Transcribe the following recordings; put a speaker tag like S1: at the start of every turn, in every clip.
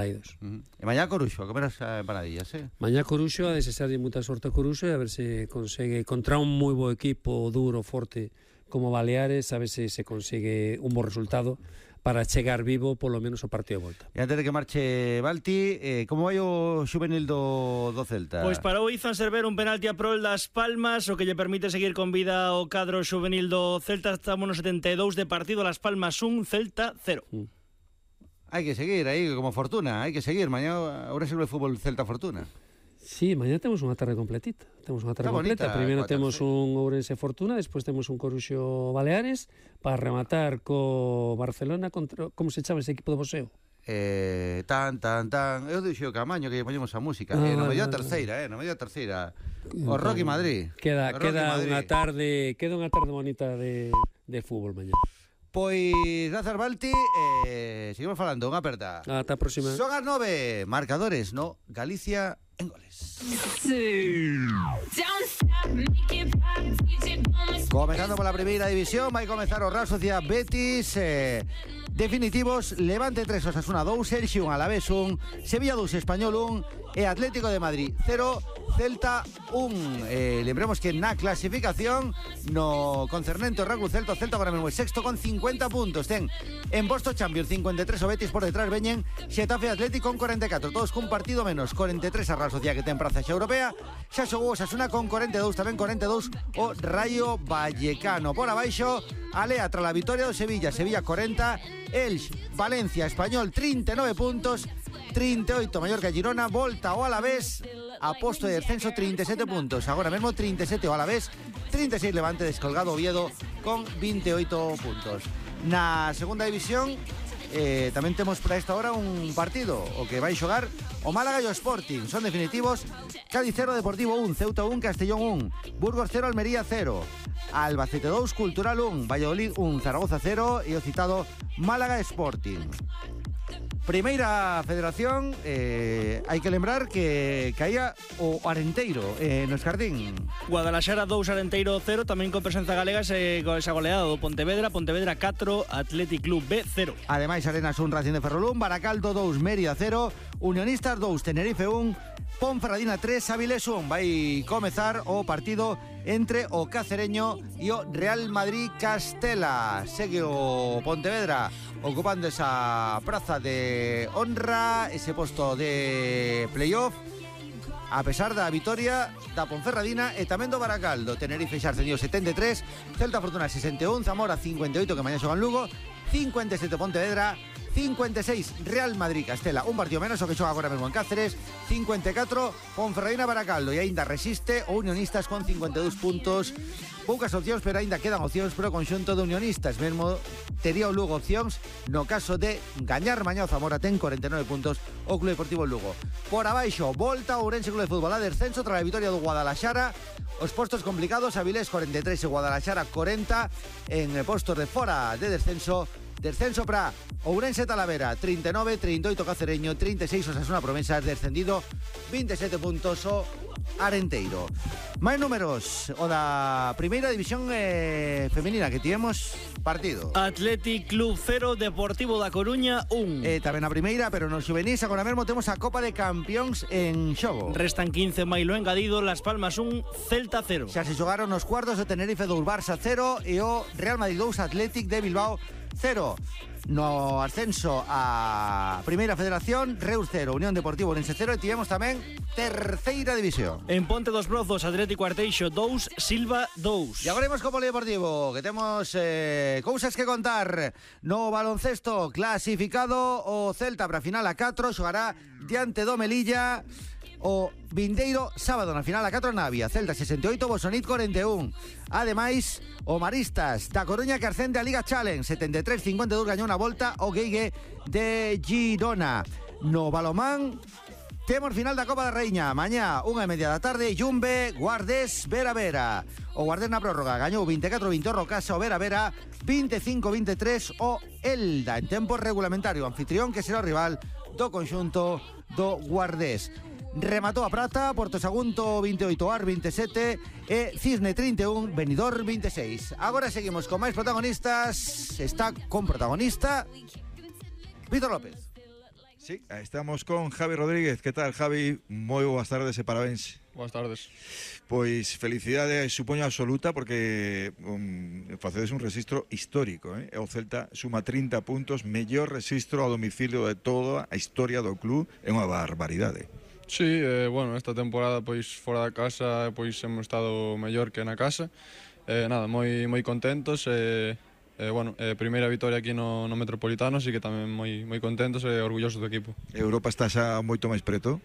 S1: E mañá Coruxo, a comer as empanadillas,
S2: Mañá Coruxo, a desexarlle moita sorte a Coruxo e a ver se consegue contra un moi bo equipo duro, forte como Baleares, a ver se consigue un bo resultado para chegar vivo polo menos o partido de volta.
S1: E antes de que marche Balti, como vai o xuvenil do Celta?
S3: Pois parou Izan Cerver un penalti a prol das Palmas, o que lle permite seguir con vida o cadro xuvenil do Celta. Estamos no 72 de partido, Las Palmas 1, Celta 0.
S1: Hai que seguir aí como Fortuna, hai que seguir. Mañá Ourense Club de Fútbol Celta Fortuna.
S2: Sí, mañá temos unha tarde completita. Temos unha tarde completa. Primeiro temos un Ourense Fortuna, despois temos un Coruxo Baleares para rematar co Barcelona contra, como se chama ese equipo de boxeo?
S1: Tan. Eu dixo Camaño que lle poñemos a música. No medio a terceira. O Rocky Madrid.
S2: Queda unha tarde bonita de fútbol mañá.
S1: Pois, grazas Balti, seguimos falando, unha aperta.
S2: Ata a próxima.
S1: Son as 9, marcadores, no Galicia en goles. Comenzando pola primeira división, vai comezar o Real Sociedad Betis, definitivos, Levante 3, Osasuna 2, Elxe 1, Alavés 1, Sevilla 2, Español 1 e Atlético de Madrid 0, Celta 1. Lembremos que na clasificación no concernente ao Real Celta, o Celta agora mesmo é sexto con 50 puntos. Ten en posto Champions 53 o Betis, por detrás veñen Xetafe e Atlético con 44, todos cun partido menos. 43 a Real Sociedad, que ten praza xa europea. Xa xogou Osasuna con 42, tamén 42 o Rayo Vallecano. Por abaixo, alea tra la vitoria do Sevilla 40, Elx, Valencia, Español 39 puntos, 38 Mallorca, Girona, volta o Alavés a posto de descenso 37 puntos, agora mesmo 37 o Alavés, 36 Levante, descolgado Oviedo con 28 puntos. Na segunda división tamén temos para esta hora un partido o que vai xogar o Málaga e o Sporting, son definitivos. Cádiz 0, Deportivo 1, Ceuta 1, Castellón 1, Burgos 0, Almería 0, Albacete 2, Cultural 1, Valladolid 1, Zaragoza 0 e o citado Málaga Sporting. Primeira Federación, hai que lembrar que caía o Arenteiro no Escardín.
S3: Guadalaxara 2, Arenteiro 0, tamén con presenza galega con esa goleada do Pontevedra 4, Athletic Club B 0.
S1: Ademais, Arenas 1, Racing de Ferrolún, Baracaldo 2, Mérida 0, Unionistas 2, Tenerife 1, Ponferradina 3, Avilés 1. Vai comezar o partido entre o Cacereño e o Real Madrid Castela. Segue o Pontevedra ocupando esa praza de honra, ese posto de playoff, a pesar da vitoria da Ponferradina e tamén do Baracaldo. Tenerife xa ascendido 73, Celta Fortuna 61, Zamora 58, que mañá xogan Lugo, 57 Pontevedra, 56 Real Madrid Castela, un partido menos o que xoga agora mesmo en Cáceres, 54 Ponferradina Baracaldo, e aínda resiste o Unionistas con 52 puntos. Poucas opcións, pero aínda quedan opcións para o conxunto de Unionistas. Mesmo tería o Lugo opcións no caso de gañar mañá o Zamora, ten 49 puntos o Club Deportivo Lugo. Por abaixo, volta o Ourense Club de Fútbol a descenso tras a vitoria do Guadalaxara. Os postos complicados, Avilés 43 e Guadalaxara 40 en postos de fora de descenso. Descenso para Ourense Talavera 39, 38 Cacereño, 36 Osasuna Promesas, descendido 27 puntos o Arenteiro. Máis números o da primeira división femenina, que tivemos partido.
S3: Athletic Club 0, Deportivo da Coruña 1.
S1: Tamén a primeira, pero nos juvenis agora mesmo temos a Copa de Campións en xogo.
S3: Restan 15 mailo engadido, Las Palmas 1, Celta 0.
S1: Xa se xogaron os cuartos, o Tenerife 2, Barça 0 e o Real Madrid 2, Athletic de Bilbao 0. No ascenso a Primeira Federación, Reus 0, Unión Deportivo Ourense 0, e tivemos tamén terceira división.
S3: En Ponte dos Brozos, Atlético Arteixo 2, Silva 2.
S1: E agora imos co polideportivo, que temos cousas que contar. No baloncesto, clasificado o Celta para a final a 4, xogará diante do Melilla o vindeiro sábado na final a 4 Navia. Celta 68, Bosonit 41. Ademais, o Maristas da Coruña, que ascende a Liga Challenge 73-52, gañou na volta o Guegue de Girona. No balomán temos final da Copa da Raíña mañá 1:30 da tarde, Jumbe Guardés Vera. O Guardés na prórroga gañou 24-20 o Rocasa, o Vera 25-23 o Elda en tempo regulamentario, anfitrión que será o rival do conxunto do Guardés. Rematou a Prata, Porto Sagunto 28, Ar 27 e Cisne 31, Benidorm 26. Agora seguimos con máis protagonistas. Está con protagonista Víctor López.
S4: Sí, estamos con Javi Rodríguez. Que tal, Javi? Moi boas tardes e parabéns.
S5: Boas tardes.
S4: Pois felicidade, supoño, absoluta, porque facedes un registro histórico, eh? O Celta suma 30 puntos, mellor registro a domicilio de toda a historia do club. É unha barbaridade.
S5: Sí, bueno, esta temporada pois fora da casa pois hemos estado mellor que na casa. Nada, moi contentos bueno, primeira vitoria aquí no Metropolitano, así que tamén moi contentos e orgullosos do equipo.
S4: Europa está xa moito máis preto.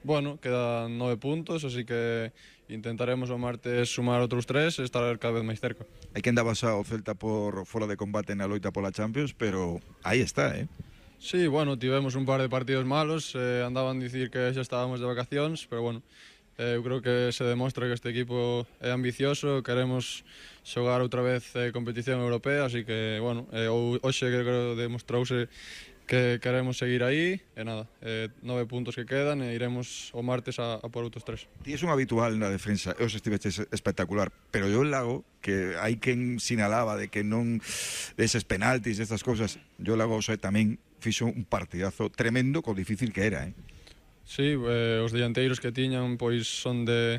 S5: Bueno, quedan 9 puntos, así que intentaremos o martes sumar outros 3 e estar cada vez máis cerca.
S4: Hai que andaba xa o Celta por fora de combate na loita pola Champions, pero aí está, eh?
S5: Sí, bueno, tivemos un par de partidos malos, andaban a dicir que xa estábamos de vacacións, pero bueno, eu creo que se demostra que este equipo é ambicioso, queremos xogar outra vez competición europea, así que, bueno, hoxe creo que demostrouse que queremos seguir aí, e nada, 9 puntos que quedan e iremos o martes a por outros 3.
S4: Ti és un habitual na defensa, e os estiveches espectacular, pero yo Lago, que hai quen sinalaba de que non deses penaltis, estas cousas, yo Lago tamén fixo un partidazo tremendo co difícil que era, eh?
S5: Sí, os dianteiros que tiñan pois son de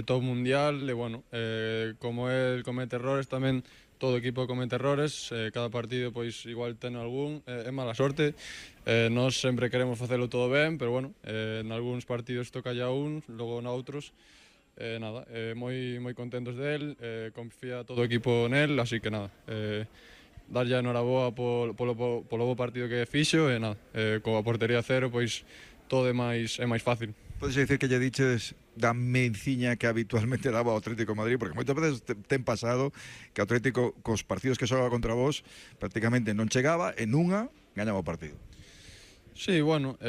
S5: top mundial e bueno, como el comete errores tamén, todo equipo comete errores, cada partido pois igual ten algún, é mala sorte, nós sempre queremos facelo todo ben, pero bueno, en algúns partidos toca ya un, logo noutros, nada, moi contentos del, confía todo o equipo nel, así que nada, darlle a enhoraboa polo bo partido que fixo e nada, coa portería cero pois todo é máis fácil.
S4: Podes dicir que lle diches da menciña que habitualmente daba o Atlético de Madrid, porque moitas veces ten pasado que o Atlético cos partidos que xoga contra vos prácticamente non chegaba e nunha gañaba o partido.
S5: Sí, bueno,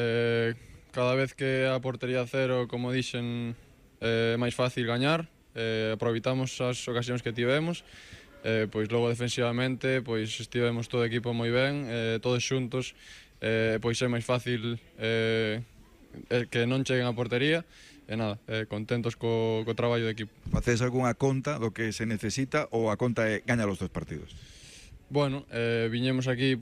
S5: cada vez que a portería cero, como dixen, é máis fácil gañar, aproveitamos as ocasións que tivemos, pois logo defensivamente pois estivemos todo o equipo moi ben, todos xuntos, pois é máis fácil que non cheguen a portería e nada, contentos co traballo de equipo.
S4: Facedes algunha conta do que se necesita ou a conta é gañar os 2 partidos?
S5: Bueno, viñemos aquí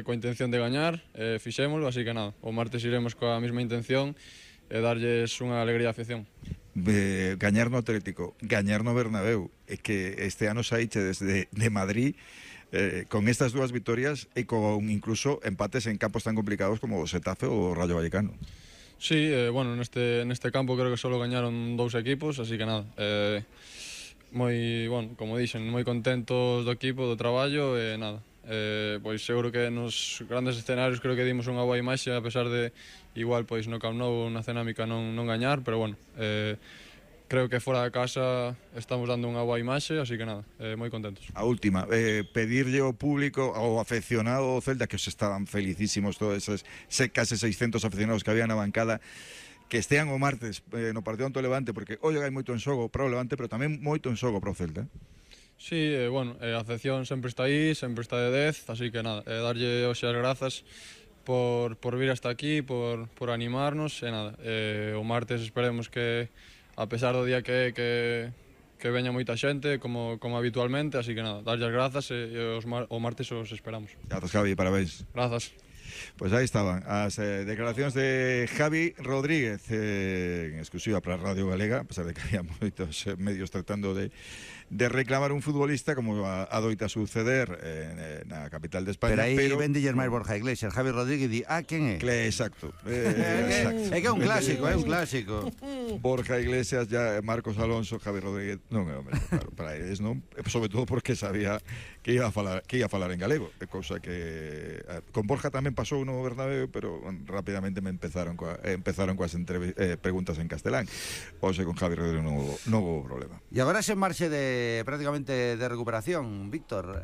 S5: coa intención de gañar, fixémolo, así que nada, o martes iremos coa mesma intención e darlles unha alegría á afición.
S4: Gañar no Atlético, gañar no Bernabéu, é que este ano saiche desde de Madrid con estas 2 vitorias e con incluso empates en campos tan complicados como o Xetafe ou o Rayo Vallecano.
S5: Sí, bueno, neste campo creo que solo gañaron 2 equipos, así que nada, moi, bueno, como dixen, moi contentos do equipo, do traballo e nada, pois seguro que nos grandes escenarios creo que dimos unha boa imaxe, a pesar de igual pois no Camp Nou na cenámica non gañar, pero bueno, creo que fora da casa estamos dando unha boa imaxe, así que nada, moi contentos.
S4: A última, pedirlle ao público, ao afeccionado do Celta, que os estaban felicísimos todos esos case 600 afeccionados que había na bancada, que estean o martes no partido ante o Levante, porque hoxe hai moito en xogo para o Levante, pero tamén moito en xogo para o Celta.
S5: Sí, bueno, a afección sempre está aí, sempre está de 10, así que nada, darlle hoxe as grazas por vir hasta aquí, por animarnos, e nada, o martes esperemos que, a pesar do día que veña moita xente, como habitualmente, así que nada, darlle as grazas e o martes os esperamos.
S4: Grazas, Javi, parabéns.
S5: Grazas.
S4: Pois aí estaban as declaracións de Javi Rodríguez, en exclusiva para Radio Galega, a pesar de que había moitos medios tratando de reclamar un futbolista, como adoita suceder na capital de España.
S1: Pero aí vendilles máis Borja Iglesias. Javi Rodríguez di, quen é?
S4: Exacto.
S1: É que é un clásico, é un clásico.
S4: Borja Iglesias, ya Marcos Alonso, Javi Rodríguez, non é o mesmo, claro, para eles non, sobre todo porque sabía que ia a falar en galego, cousa que con Borja tamén pasou no Bernabéu, pero rapidamente me empezaron coas preguntas en castelán. Hoxe con Javi Rodríguez non hubo problema.
S1: E agora se marche prácticamente de recuperación, Víctor.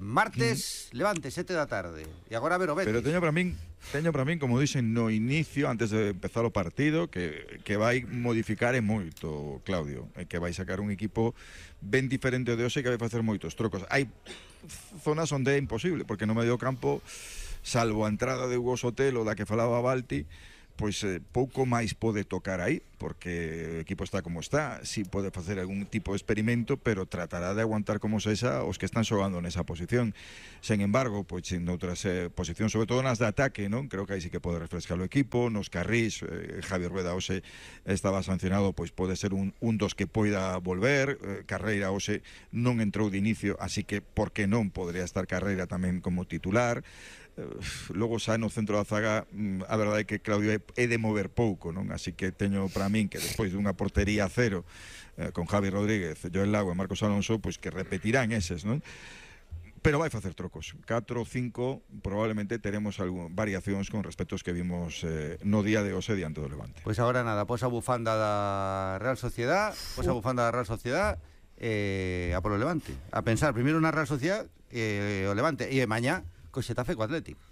S1: Martes, Levante, 7 da tarde. E agora a ver o Betis.
S4: Pero teño para min, como dixen no inicio, antes de empezar o partido, que vai modificar moito, Claudio, que vai sacar un equipo ben diferente ao de hoxe, que vai facer moitos trocos. Hai zonas onde é imposible, porque no medio campo, salvo a entrada de Hugo Sotelo, da que falaba Balti, pois pouco máis pode tocar aí. porque o equipo está como está. Si pode facer algún tipo de experimento, pero tratará de aguantar como sexa os que están xogando nesa posición. Sen embargo, pois en outras posicións, sobre todo nas de ataque, non? Creo que aí sí que pode refrescar o equipo. Nos carrís, Javier Rueda hoxe estaba sancionado, pois pode ser un dos que poida volver. Carreira hoxe non entrou de inicio, así que por que non podría estar Carreira tamén como titular. Logo xa no centro da zaga a verdade é que Claudio é de mover pouco, non? Así que teño para min que despois dunha portería cero con Javi Rodríguez, Joel Lago e Marcos Alonso, pois que repetirán eses, non? Pero vai facer trocos, 4 ou 5 probablemente teremos variacións con respecto aos que vimos no día de hoxe diante do Levante.
S1: Pois agora nada, pois a bufanda da Real Sociedad, a polo Levante, a pensar primeiro na Real Sociedad o Levante, e mañá co Xetafe co Atlético.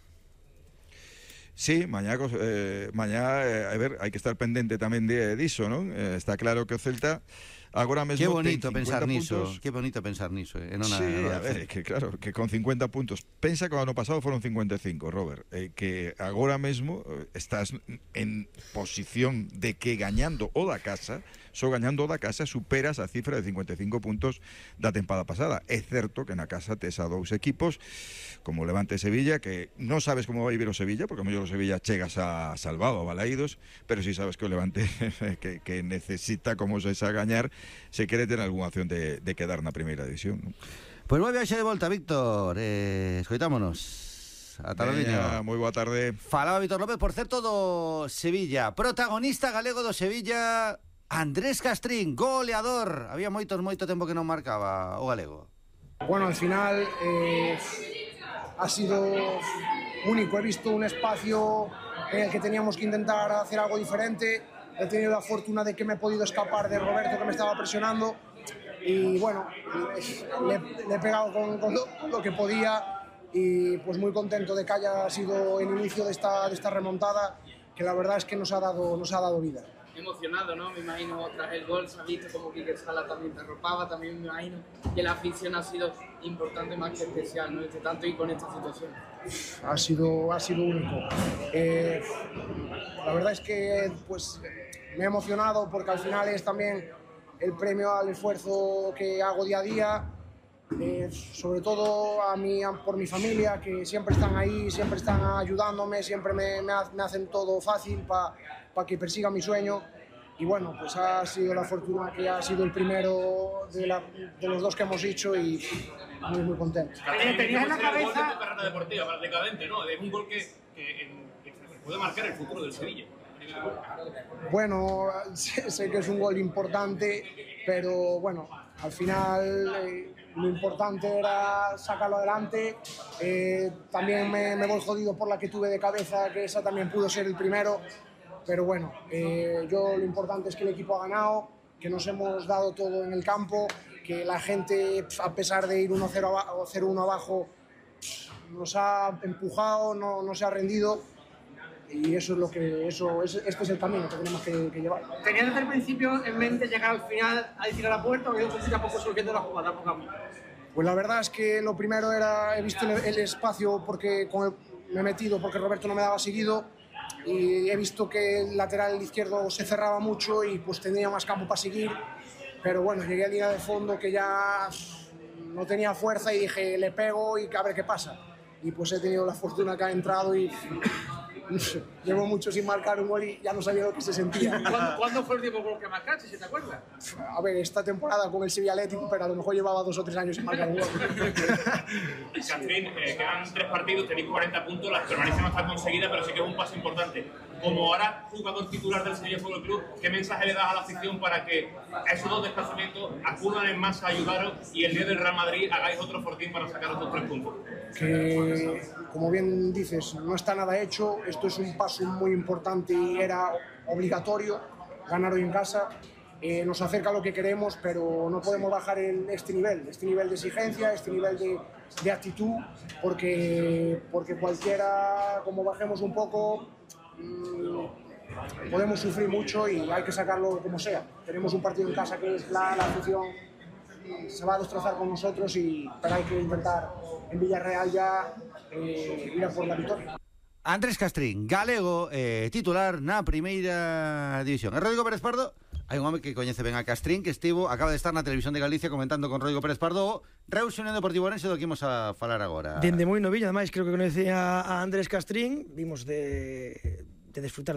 S4: Sí, mañá a ver, hai que estar pendente tamén diso, non? Está claro que o Celta agora mesmo
S1: Qué bonito
S4: ten 50
S1: pensar niso,
S4: puntos.
S1: qué bonito pensar niso,
S4: Sí, a ver, que claro, que con 50 puntos, pensa que o ano pasado foron 55, Robert, que agora mesmo estás en posición de que gañando o da casa, gañando o da casa superas a cifra de 55 puntos da tempada pasada. É certo que na casa tes a dous equipos como Levante e Sevilla, que non sabes como vai vir o Sevilla, porque a mellor o Sevilla chegas a salvado, a Balaídos, pero si sabes que o Levante que necesita como se a gañar se quere ter algunha opción de quedar na primeira división, non?
S1: Pois moi viaxe de volta, Víctor, escoitámonos. Ata logo.
S4: Moi boa tarde.
S1: Falaba Víctor López, por certo, do Sevilla, protagonista galego do Sevilla, Andrés Castrín, goleador. Había moito tempo que non marcaba o galego.
S6: Bueno, al final ha sido único. He visto un espacio en el que teníamos que intentar hacer algo diferente. He tenido la fortuna de que me he podido escapar de Roberto, que me estaba presionando. Y bueno, le he pegado con lo que podía. Y pues muy contento de que haya sido el inicio de esta remontada, que la verdad es que nos ha dado vida.
S7: Emocionado, ¿no? Me imagino tras el gol se ha visto como Quique Sala también te arropaba, también me imagino que la afición ha sido importante más que especial, ¿no? Tanto y con esta situación.
S6: Ha sido único. La verdad es que pues me he emocionado porque al final es también el premio al esfuerzo que hago día a día, sobre todo por mi familia, que siempre están ahí, siempre están ayudándome, siempre me hacen todo fácil para que persiga mi sueño. Y bueno, pues ha sido la fortuna que ha sido el primero de los dos que hemos hecho y muy contento.
S8: Tenías en la cabeza tu carrera deportiva, para el decadente, ¿no? Es un gol que puede marcar el futuro del Sevilla.
S6: Bueno, sé que es un gol importante, pero bueno, al final lo importante era sacarlo adelante. También me voy jodido por la que tuve de cabeza, que esa también pudo ser el primero. Pero bueno, lo importante es que el equipo ha ganado, que nos hemos dado todo en el campo, que la gente, a pesar de ir 1-0 o 0-1 abajo, nos ha empujado, no se ha rendido. Y eso es este es el camino que tenemos que llevar.
S8: ¿Tenías desde el principio en mente llegar al final a tirar a la puerta o que poco a poco surgiendo la jugada?
S6: Pues la verdad es que lo primero he visto el espacio porque me he metido porque Roberto no me daba seguido y he visto que el lateral izquierdo se cerraba mucho y pues tenía más campo para seguir, pero bueno, llegué a línea de fondo que ya no tenía fuerza y dije le pego y a ver qué pasa, y pues he tenido la fortuna que ha entrado y llevo mucho sin marcar un gol y ya no sabía lo que se sentía.
S8: ¿Cuándo fue el último gol que marcaste, si te acuerdas?
S6: A ver, esta temporada con el Sevilla Atlético, pero a lo mejor llevaba 2 o 3 años sin marcar un gol.
S8: Castrín, quedan 3 partidos, tenéis 40 puntos, la permanencia no está conseguida, pero sí que es un paso importante. Como ahora jugador titular del Sevilla Fútbol Club, ¿qué mensaje le das a la afición para que esos 2 desplazamientos acudan en masa a ayudaros y el día del Real Madrid hagáis otro fortín para sacar los 3 puntos?
S6: Que, como bien dices, no está nada hecho. Esto es un paso muy importante y era obligatorio ganar hoy en casa. Nos acerca a lo que queremos, pero no podemos bajar este nivel de exigencia, este nivel de actitud, porque cualquiera, como bajemos un poco, podemos sufrir mucho y hay que sacarlo como sea. Tenemos un partido en casa que es la afición se va a destrozar con nosotros, pero hay que intentar en Villarreal ya ir a por la victoria.
S1: Andrés Castrín, galego, titular na primeira división. E Rodrigo Pérez Pardo, hai un home que coñece ben a Castrín, que acaba de estar na Televisión de Galicia comentando con Rodrigo Pérez Pardo o Reus Unión Deportivo Orense, do que imos a falar agora.
S9: Dende moi novillo, ademais, creo que coñecía a Andrés Castrín, vimos de disfrutar